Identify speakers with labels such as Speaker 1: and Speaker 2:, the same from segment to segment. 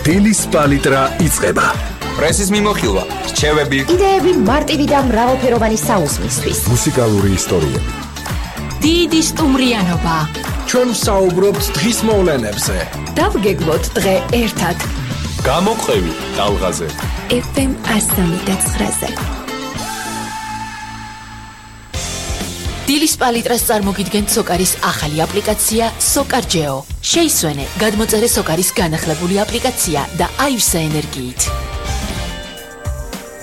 Speaker 1: დილის პალიტრა იწყება.
Speaker 2: პრესის მიმოხილვა, რჩევები,
Speaker 3: იდეები მარტივი და მრავალფეროვანი საუზმისთვის.
Speaker 1: მუსიკალური ისტორიები.
Speaker 4: დიდი სტუმრიანობა.
Speaker 5: ჩვენ ვსაუბრობთ დღის მოვლენებზე.
Speaker 4: დავგეგმოთ დღე ერთად.
Speaker 1: გამოყევი ტალღაზე.
Speaker 4: FM 103.9-ზე. დილის პალიტრას წარმოგიდგენთ სოკარის ახალი აპლიკაცია SOCARGEO. შეისვენე გადმოწერე სოკარის განახლებული აპლიკაცია და აივსე ენერგიით.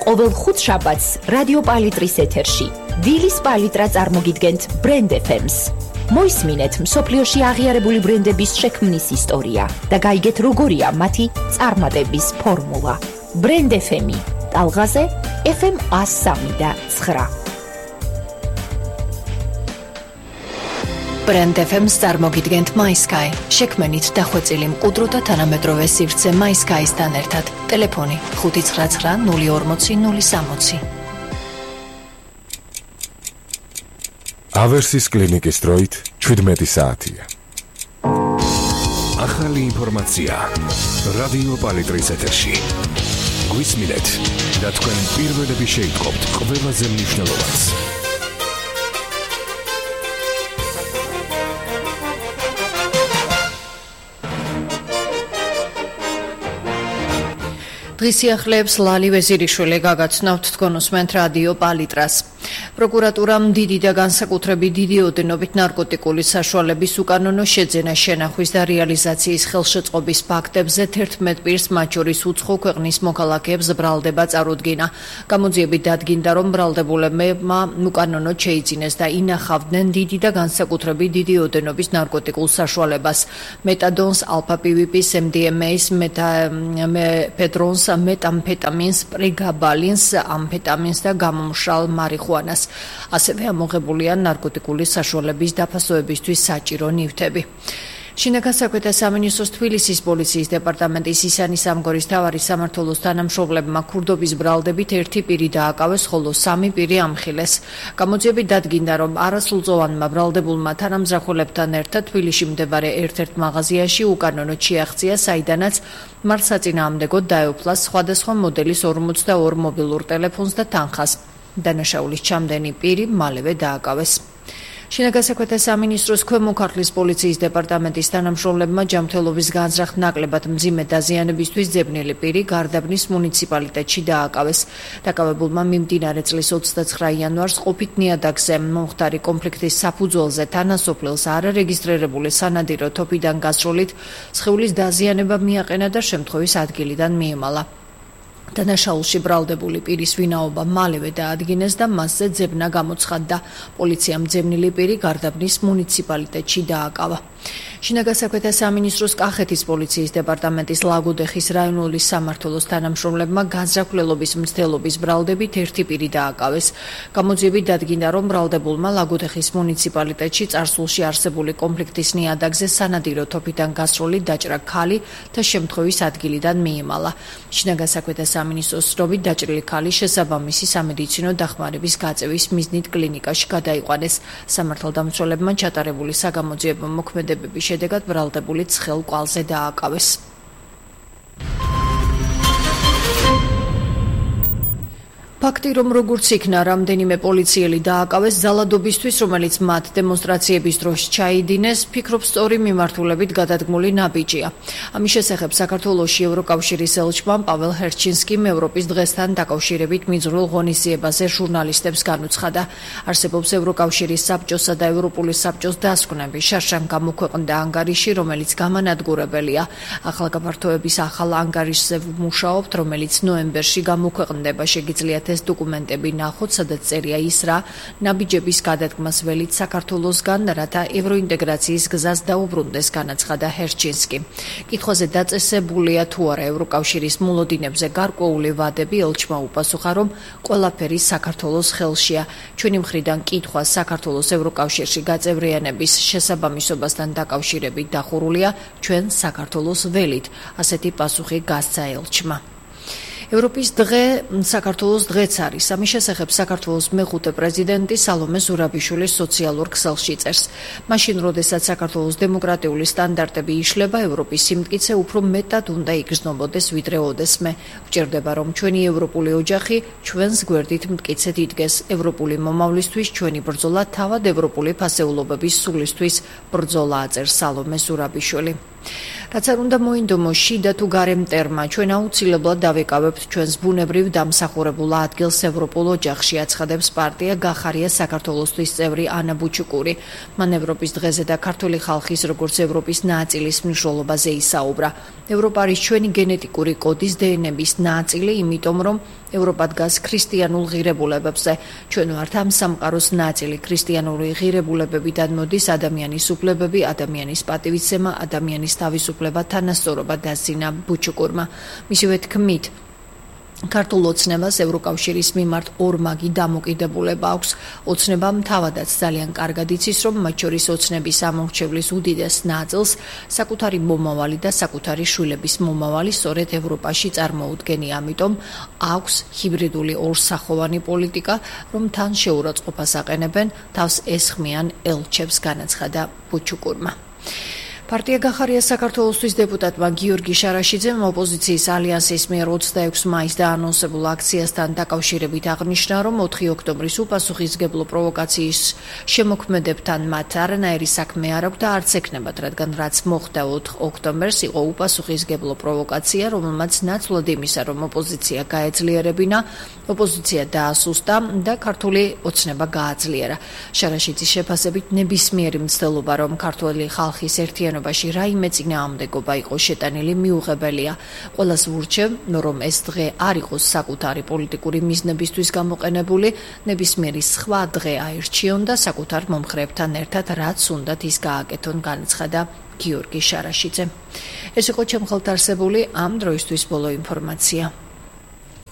Speaker 3: ყოველ ხუთშაბათს რადიო პალიტრის ეთერში დილის პალიტრა წარმოგიდგენთ ბრენდ FM-ს. მოისმინეთ მსოფლიოში აღიარებული ბრენდების შექმნის ისტორია და გაიგეთ როგორია მათი წარმატების ფორმულა. ბრენდ FM-ი ტალღაზე FM 103.9.
Speaker 4: ბრენდ FM-ს წარმოგიდგენთ MySky. შექმნით დახვეწილი მყუდრო და თანამედროვე სივრცე MySky-სთან ერთად. ტელეფონი 599 040 060.
Speaker 1: ავერსის კლინიკის დროით 17 საათია. ახალი ინფორმაცია რადიო პალიტრის ეთერში. გვისმინეთ და თქვენ პირველები შეიტყობთ ყველაზე მნიშვნელოვანს.
Speaker 6: დღის სიახლეებს ლალი ვეზირიშვილი გაგაცნობთ, თქვენ უსმენთ რადიო პალიტრას. პროკურატურამ დიდი და განსაკუთრებით დიდი ოდენობით ნარკოტიკული საშუალების უკანონო შეძენა, შენახვის და რეალიზაციის ხელშეწყობის ფაქტებზე 11 პირს, მათ შორის უცხო ქვეყნის მოქალაქეებს ბრალდება წარუდგინა. გამოძიებით დადგინდა, რომ ბრალდებულებმა უკანონოდ შეიძინეს და ინახავდნენ დიდი და განსაკუთრებით დიდი ოდენობის ნარკოტიკულ საშუალებას: მეტადონს, ალფა-პივიპის, MDMA-ს, მეფედრონს, მეტამფეტამინს, პრეგაბალინს, ამფეტამინს და გამომშრალ მარიხუანას. ასევე ამოღებულია ნარკოტიკული საშუალების დაფასოებისთვის საჭირო ნივთები. შინაგან საქმეთა სამინისტროს თბილისის პოლიციის დეპარტამენტის ისანის ამგორის მთავარი სამმართველოს თანამშრომლებმა ქურდობის ბრალდებით 1 პირი დააკავეს, ხოლო 3 პირი ამხილეს. გამოძიებით დადგინდა, რომ არასრულწლოვანმა ბრალდებულმა თანამძახულებთან ერთად თბილისში მდებარე ერთ-ერთ მაღაზიაში უკანონოდ შეაღწია, საიდანაც მათ საწინააღმდეგოდ დაეუფლა სხვადასხვა მოდელის 42 მობილურ ტელეფონს და თანხას. დანაშაულის ჩამდენი პირი მალევე დააკავეს. შინაგან საქმეთა სამინისტროს ქვემო ქართლის პოლიციის დეპარტამენტის თანამშრომლებმა ჯანმრთელობის განზრახ ნაკლებად მძიმე დაზიანებისთვის ძებნილი პირი გარდაბნის მუნიციპალიტეტში დააკავეს. დაკავებულმა მიმდინარე წლის 29 იანვარს ყოფით ნიადაგზე მომხდარი კონფლიქტის საფუძველზე თანასოფლელს არარეგისტრირებული სანადირო თოფიდან გასროლით სხეულის დაზიანება მიაყენა და შემთხვევის ადგილიდან მიემალა. დანაშაულში ბრალდებული პირის ვინაობა მალევე დაადგინეს და მასზე ძებნა გამოცხადდა. პოლიციამ ძებნილი პირი გარდაბნის მუნიციპალიტეტში დააკავა. შინაგან საქმეთა სამინისტროს კახეთის პოლიციის დეპარტამენტის ლაგოდეხის რაიონული სამმართველოს თანამშრომლებმა განზრახულობის მცდელობის ბრალდებით 1 პირი დააკავეს. გამოძიებით დადგინდა, რომ ბრალდებულმა ლაგოდეხის მუნიციპალიტეტში წარსულში არსებული კონფლიქტის ნიადაგზე სანადირო თოფიდან გასროლით დაჭრა ქალი და შემთხვევის ადგილიდან მიემალა. შინაგან საქმეთა სამინისტროს ცნობით დაჭრილი ქალი შესაბამისი სამედიცინო დახმარების გაწევის მიზნით კლინიკაში გადაიყვანეს. სამართალდამცველებმა ჩატარებული საგამოძიებო მოქმედებების შედეგად ბრალდებული ცხელ კვალზე დააკავეს. ფაქტი, რომ როგორც იქნა რამდენიმე პოლიციელი დააკავეს ძალადობისთვის, რომელიც მათ დემონსტრაციების დროს ჩაიდინეს, ფიქრობ სწორი მიმართულებით გადადგმული ნაბიჯია. ამის შესახებ საქართველოში ევროკავშირის ელჩმა პაվել ჰერჩინსკიმ ევროპის დღესთან დაკავშირებით მიზრულ ღონისძიებაზე ჟურნალისტებს განუცხადა. არსებობს ევროკავშირის საბჭოსა და ევროპული საბჭოს დასკვნები. შარშან გამოქვეყნდა ანგარიში, რომელიც გამანადგურებელია. ახალგაფართოების ახალ ანგარიშზე ვმუშაობთ, რომელიც ნოემბერში გამოქვეყნდება. შეგიძლიათ ეს დოკუმენტები ნახოთ, სადაც წერია ის, რა ნაბიჯების გადადგმას ველით საქართველოსგან, რათა ევროინტეგრაციის გზას დაუბრუნდეს, განაცხადა ჰერჩინსკი. კითხვაზე დაწესებულია თუ არა ევროკავშირის მოლოდინებზე გარკვეული ვადები, ელჩმა უპასუხა, რომ ყველაფერი საქართველოს ხელშია. ჩვენი მხრიდან კითხვა საქართველოს ევროკავშირში გაწევრიანების შესაბამისობასთან დაკავშირებით დახურულია ჩვენ საქართველოს ველით. ასეთი პასუხი გასცა ელჩმა. ევროპის დღე საქართველოს დღეც არის. ამის შესახებ საქართველოს მეხუთე პრეზიდენტი სალომე ზურაბიშვილი სოციალურ ქსელში წერს. მაშინ, როდესაც საქართველოს დემოკრატიული სტანდარტები იშლება, ევროპის სიმტკიცე უფრო მეტად უნდა იგრძნობოდეს, ვიდრე ოდესმე. ვჭირდება, რომ ჩვენი ევროპული ოჯახი ჩვენს გვერდით მტკიცედ იდგეს. ევროპული მომავლისთვის ჩვენი ბრძოლა თავად ევროპული ფასეულობების სულისთვის ბრძოლაა, წერს სალომე ზურაბიშვილი. რაც არ უნდა მოინდომოს შიდა თუ გარე მტერმა, ჩვენ აუცილებლად დავეკავებთ ჩვენს ბუნებრივ დამსახურებულ ადგილს ევროპულ ოჯახში, აცხადებს პარტია გახარია საქართველოსთვის წევრი ანა ბუჩუკური. მან ევროპის დღეზე და ქართული ხალხის როგორც ევროპის ნაწილის მნიშვნელობაზე ისაუბრა. ევროპა არის ჩვენი გენეტიკური კოდის დნმ-ის ნაწილი, იმიტომ რომ ევროპა დგას ქრისტიანულ ღირებულებებზე. ჩვენ ვართ ამ სამყაროს ნაწილი. ქრისტიანული ღირებულებებიდან მოდის ადამიანის უფლებები, ადამიანის პატივისცემა, ადამიანის თავისუფლება, თანასწორობა, დასძინა ბუჩუკურმა. მისივე თქმით, ქართულ ოცნებას ევროკავშირის მიმართ ორმაგი დამოკიდებულება აქვს. ოცნებამ თავადაც ძალიან კარგად იცის, რომ მათ შორის ოცნების ამორჩევლის უდიდეს ნაწილს საკუთარი მომავალი და საკუთარი შვილების მომავალი სწორედ ევროპაში წარმოუდგენია. ამიტომ აქვს ჰიბრიდული ორსახოვანი პოლიტიკა, რომ თან შეურაცხყოფას აყენებენ, თავს ესხმიან ელჩებს, განაცხადა ბუჩუკურმა. პარტია გახარია საქართველოსთვის დეპუტატმა გიორგი შარაშიძემ ოპოზიციის ალიანსის მიერ 26 მაისს დაანონსებულ აქციასთან დაკავშირებით აღნიშნა, რომ 4 ოქტომბრის უპასუხისმგებლო პროვოკაციის შემოქმედებთან მათ არანაირი საქმე არ აქვს და არც ექნებათ, რადგან რაც მოხდა 4 ოქტომბერს იყო უპასუხისმგებლო პროვოკაცია, რომელმაც ნაცვლად იმისა, რომ ოპოზიცია გაეძლიერებინა, ოპოზიცია დაასუსტა და ქართული ოცნება გააძლიერა. შარაშიძის შეფასებით ნებისმიერი მცდელობა, რომ ქართული ხალხის ერთიანობა რაიმე წინააღმდეგობა იყო შეტანილი, მიუღებელია. ყველას ვურჩევ, რომ ეს დღე არ იყოს საკუთარი პოლიტიკური მიზნებისთვის გამოყენებული, ნებისმიერი სხვა დღე აირჩიონ და საკუთარ მომხრეებთან ერთად რაც უნდათ ის გააკეთონ, განაცხადა გიორგი შარაშიძე. ეს იყო ჩემ ხელთ არსებული ამ დროისთვის ბოლო ინფორმაცია.